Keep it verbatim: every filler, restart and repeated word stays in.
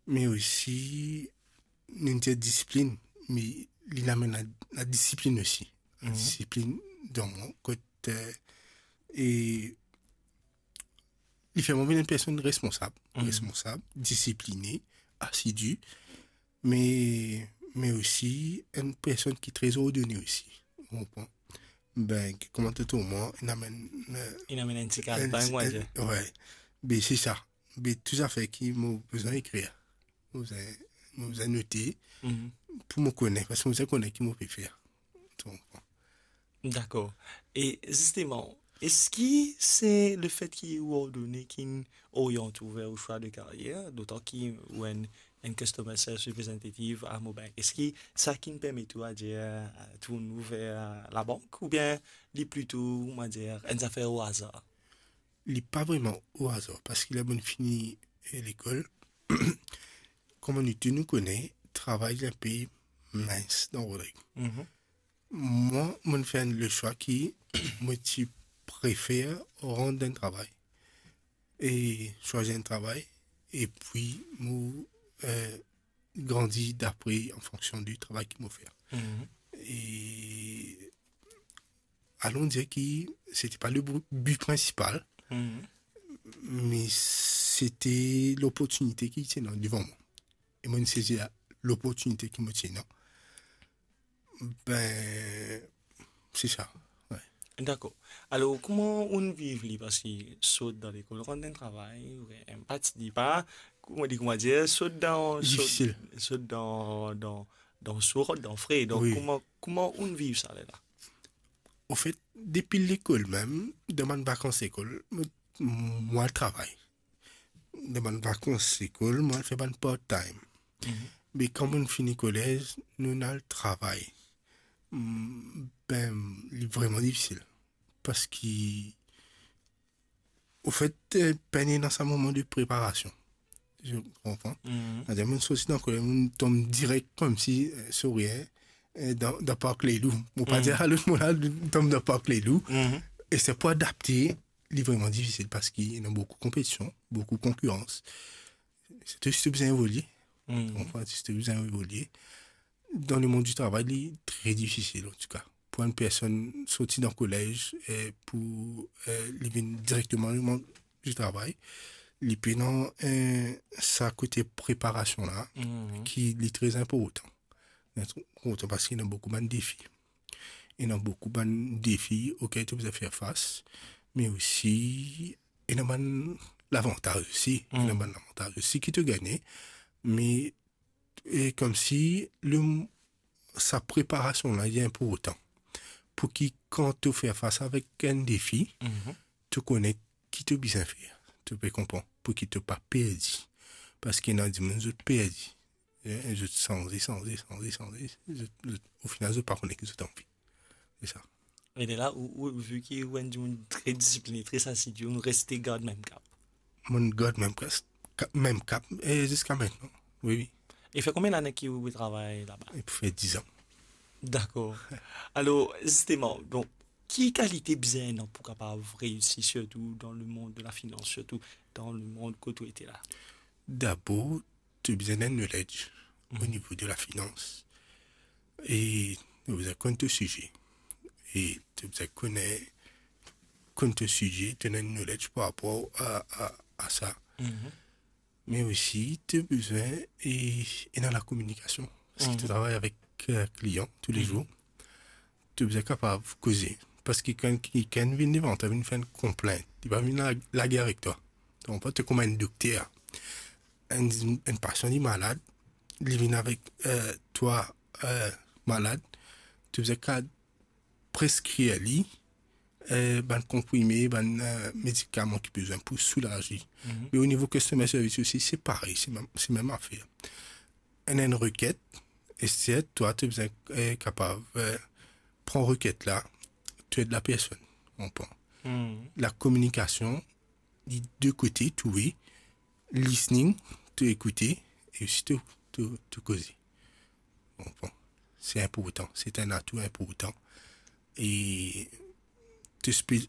Me osi, nou dir disiplin, me li amenn la, la disiplin osi. La disiplin dan mwa, kot, eh, e li fer mwa vinn enn personn responsab, responsab, disipline, asidi, me, me osi enn personn ki tre ordone osi. Ou konpran? Ben, ki, kouma to trouv mwa, inn amenn, eh, Inn amenn enn ti kalbang, enn, enn, we. Be, se sa. Be, tou zafer ki mo bizin ekrir, mo bizin, mo bizin note, pou mo kone, parski mo bizin kone ki mo pe fer. Donk, Dakor. E zisteman, eski se lefet ki ou ordone ki'nn oryant ou ver ou swa de karyer, dotan ki ou enn, enn customer service representative a Mobank? Eski sa ki'nn permet ou, adir, tourn ou ver labank, oubien li plito, on va dir, enn zafer o azar? Li pa vreman o azar, parski ler mo'nn fini, eh, lekol, kouma nou tou nou kone, travay li enpe mins dan Rodrig. Mwa, mo'nn fer le swa ki mo ti prefer rant dan travay e swazir enn travay, epi mo, eh, grandi dapre, an fonksion di travay ki mo fer. E alon dir ki se ti pa le bu-, bi prinsipal, me se ti loportinite ki ti ena devan mwa. E mo'nn sezi loportinite ki mo ti ena. Ben, se sa, we. Dakor. Alor, kouma ou'nn viv li? Parski sot dan lekol, rant dan travay, we, pa ti, li pa, kouma dir, kouma dir, sot dan, sot, difisil, sot dan, dan, dan so, rant dan fre. Donk, wi, kouma, kouma ou'nn viv sa lerla? Anfet, depi lekol mem, dan bann vakans lekol, mo, mo al travay. Dan bann vakans lekol, mo al fer bann part-time. Me kan mo'nn fini kolez, nou'nn al travay. Mm, ben, li vreman difisil. Parski, anfet, eh, pena sa moman de preparasion. Ou konpran? Savedir, mo'nn sorti dan kolez, mo'nn tom direk koumsi, eh, sorry, eh, eh, dan, dan park Lelou. Mo pa dir sa lot mo la, tom dan park Lelou. E se pou adapte, li vreman difisil parski ena boukou konpetision, boukou konkirans. Sirtou si to bizin evolie. Ou konpran, si to bizin evolie. Dan lemond di travay, li tre difisil, antouka. Pou enn personn sorti dan kolez, eh, pou, eh, li vinn direkteman dan lemond di travay, li pena, eh, sa kote preparasion la, ki li tre inportan. Li tre inportan parski ena boukou bann defi. Ena boukou bann defi okel to bizin fer fas, me osi ena bann lavantaz osi, ena bann lavantaz osi ki to gagne, me, e koumsi le, sa preparasion la, li inportan. Pou ki kan to fer fas avek enn defi, to kone ki to bizin fer. To pe konpran, pou ki to pa perdi. Parski ena dimoun zot perdi. Eh, zot sanze, sanze, sanze, sanze. Zot, zot, ofinal, zot pa kone ki zot anvi. Se sa. E lerla, ou, ou, vi ki ou enn dimoun tre disipline, tre asidi, ou reste gard mem kap? Mo'nn gard mem kap, ka-, mem kap, e ziska mintenan. Wi, wi. E fer konbien lane ki ou travay laba? E pou fer diz an. Dakor. Alor, zisteman, donk, ki kalite bizin ena pou kapav reisi, sirtou dan lemond de lafinans, sirtou dan lemond kot ou ete la? Dabor, to bizin ena knowledge o nivo de lafinans. E to bizin konn to size. E to bizin kone, konn to size, to ena knowledge par rapor a, a, a sa. Me osi, to bizin, e, ena lakominikasion. Parski to travay avek, eh, klian toulezour. To bizin kapav koze. Parski kan kikenn vinn devan twa, vinn fer enn konplint, li pa vinn la-, lagere avek twa. Donk, to kouma enn dokter. Enn, enn pasian li malad, li vinn avek, eh, twa, eh, malad, to bizin kapav preskrir li, eh, bann konprime, bann, eh, medikaman ki bizin pou soulaz li. Me o nivo customer service osi, se parey, se mem, se mem zafer. Ena enn reket, e sirtou twa, to bizin, eh, kapav, eh, pran reket la, to ed lapersonn, ou konpran. Lakominikasion, li de kote, touwe, listening, to ekoute, e osi to, to, to koze. Ou konpran. Se inportan, se enn atou inportan. E to spe-,